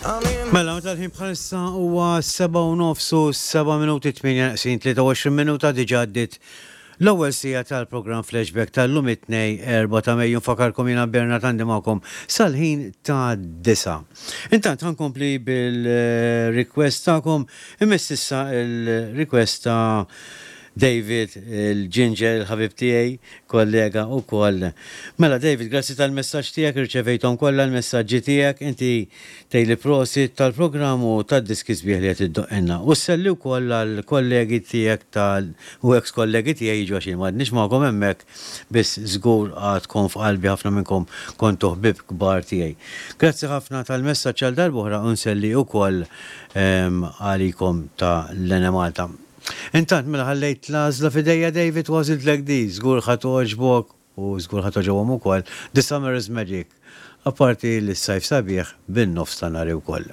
Mela, meta l-ħin bħalissa huwa 7 u nofs u 7 minuti 8 neqsin 23 minuta diġà għaddiet l-ewwel siegħa tal-programm Flashback tal-lum it-Tnejn 4 ta' Mejju nfakarkom jiena Bernard għandi magħkom sal-ħin ta' disa. Intant ħa nkompli bil-request tagħkom imiss issa il-request ta' David il-Ginger il-ħabib tiegħi kollega wkoll. Mela David, grazzi tal-messaġġ tiegħek, irċevejthom kollha l-messaġġi tiegħek, inti tgħidli prosit tal-programm u tad-diski sbieħ li qed iddoqqilna. U sselli wkoll għall-kollegi tiegħek tal u eks kollegi tiegħi jiġu għax jien m'għadnix magħkom hemmhekk, biss żgur għadkom f'qalbi ħafna minnkom kontu ħbieb kbar tiegħi. Grazzi ħafna tal-messaġġ għal darb'oħra u nselli wkoll għalikom ta' l-Enemalta. Intant mela ħallejt l-għażla f'idejja David u għażiltlek di, żgur ħa togħġbok u żgur ħa togħġobhom ukoll, The Summer is Magic. Apparti li s-sajf sabiħ bin-nofs ta' nhar ukoll.